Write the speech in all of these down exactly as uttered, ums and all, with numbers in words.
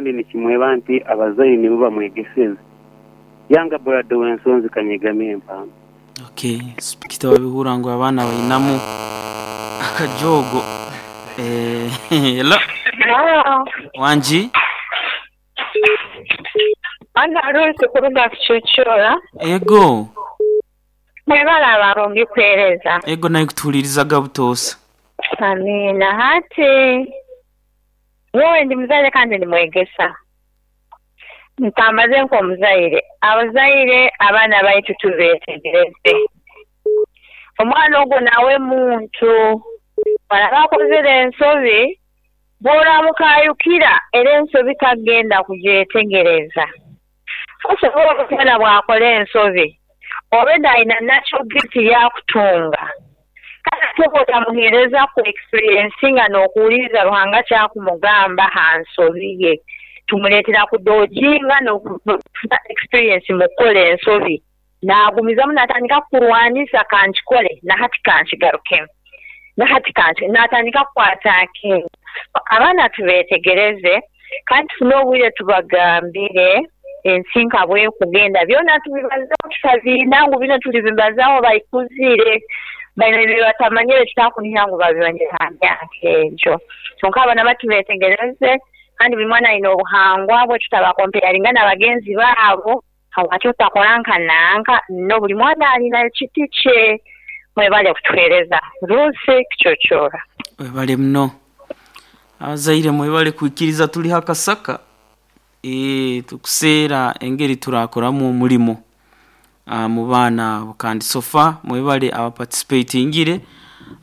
Kandi nikimweba nti abazaire nibo bamwegeseze. Yanga brother w'ensonzi kanyegame empamba. Okay, spikita wabihura ngu abaana bainamu akajogo. Eh, hello. Hello. Wanji? Ana Ruth kuruga kucucura. Ego. Mwebale abarungi kuhereza. Ego naye kutuhulirizaga butoosa. Amina. Hati nyowe ndi muzaire kandi ndi mwegesa. Ntambaze nk'omuzaire. Abazaire abaana baitu tubeetegereze. Omwana ogwo nawe muntu. Baraba akozere ensobi, bw'oramukayukira era ensobi tagenda kugyetegereza. Osobola omwana bw'akola ensobi, already ayina natural gift yakutunga. Kale ate bw'otamuheereza ku experience nga n'okuwuliriza Ruhanga kyakumugamba ha nsobi ye. Tumuleetera kudojinga n'okufuna experience mu kukola ensobi. Naagumizamu n'atandika kukurwanisa kankikole nahati kankigarukemu. Nahati kanki n'atandika kukwata. Abaana tubeetegereze kandi tufune obwire tubagambire ensi nka bwekugenda byona tubibazeho tutabiina ngu bino tulibibazaho baikuzire baina ebyo batamanyire tutakunihira ngu babimanyire ha myaka egyo. Kyonka abaana batubeetegereze kandi buli mwana ayina obuhangwa bwe tutabakompeyaringa na bagenzi baabo habwaki otakora nka nanka no buli mwana alina ekiti kye. Mwebale kutuheereza. Ruth Kicocoora. Webale muno. Abazaire mwebale kwikiriza tuli hakasaka. E, tukuseera engeri turakoramu omulimo uh, mu baana abo kandi sofa mwebale abaparticipatingire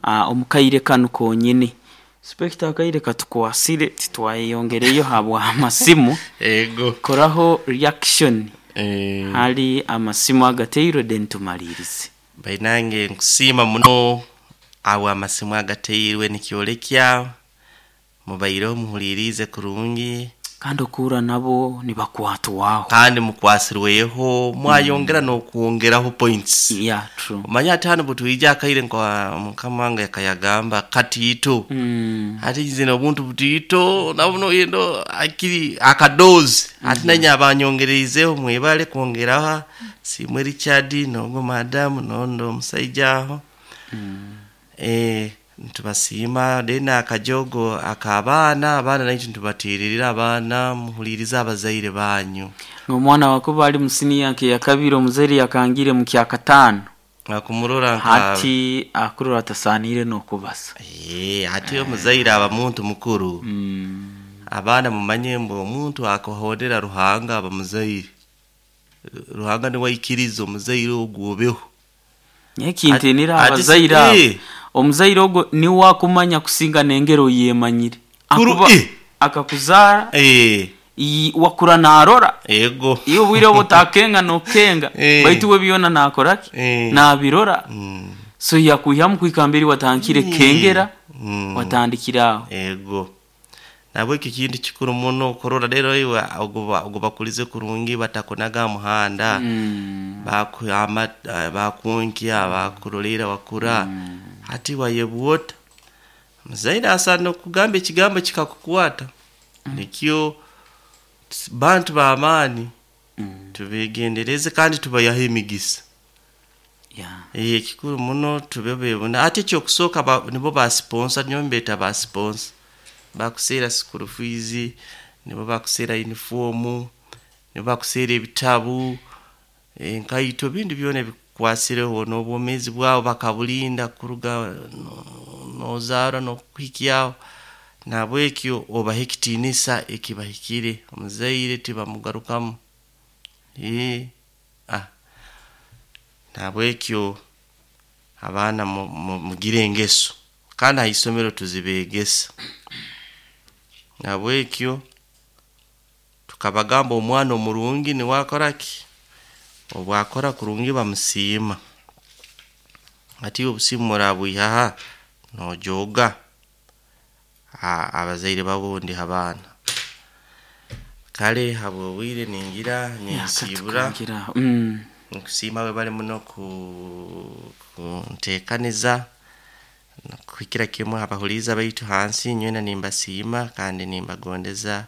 uh, omukaire kanu konyene. Specta akaire katukwasire titwayeyongereyo habwa amasimu. Ego. Koraho reaction. Eh. Hali amasimu agateirwe then tumalirize. Bainange nkusiima muno awo amasimu agateirwe nikyolekya mubaire muhulirize kurungi kandi okura nabo nibakwatwaho kandi mukwasirweho mwayongera mm. n'okwongeraho points. Yeah, true. Omanya ati hano butwija akaire nka mukama wange yakayagamba katiito mm. ati zino obuntu butiito nabuno yendo akiri akadozi mm. ati nanye abanyongereizeho mwebale kwongeraho simwe Richard nogo madamu nondo omusaija aho mm. eh ntubasiima dena akajogo akabaana abaana naito ntubatiririra abaana muhuliriza abazaire banyu. Omwana wakuba ali musini yake yakabiri omuzaire yakangire mu kyakataano akumurora nka hati akurora atasanire n'okubasa. Eh ati omuzaire aba muntu mukuru mm. Abaana mumanye mbu omuntu akohondera Ruhanga aba muzaire. Ruhanga niwe aikiriza omuzaire ogwobeho. Nyekintinira abazaire abo. Omuzaire ogwo ni wakumanya kusinga nengero yemanyire. Akuba akakuzaara eh wakura narora. Ego. Iyo bwire obotakenga nokenga e. Baitu we byona nakoraki e. Nabirora. Mm. So yakuyamu kwikambiri watankire mm. Kengera mm. Watandikiraho. Ego. Nabwo iki kintu kikuru muno korora rero iwe ogoba ogobakulize kurungi batakonaga muhanda mm. Bakuyama bakunkia bakurolera wakura mm. Hati wayebwota muzaire asana kugamba ekigambo kikakukwata mm. Nikyo bantu b'amaani mm. Tubegendereze kandi tubayaho emigisa. Yeah. Eh ekikuru muno tubebebona ate ekyokusooka ba, nibo ba sponsor nyo mbeta ba sponsor bakuseera school fees nibo bakuseera uniform nibo bakuseera ebitabu enkaito bindi byona bikwasireho n'obwomezi bwabo bakabulinda kuruga nozaara n'okuhikyaho nabwekyo obahe ekitiinisa ekibahikire omuzaire tibamugarukamu eh ah nabwekyo abaana mugire engeso kandi aha isomero tuzibegesa nabwekyo tukabagamba omwana omurungi niwakoraki obwakora kurungi bamusiima ati obusimu murabwihaha nojoga abazaire babundi abaana kale habwobwire ningira ninsibura mm. Nkusiima we bali muno ku kunteekaniza kuhikira kimwe abahuliza baitu hansi nywena nimbasiima kandi nimbagondeza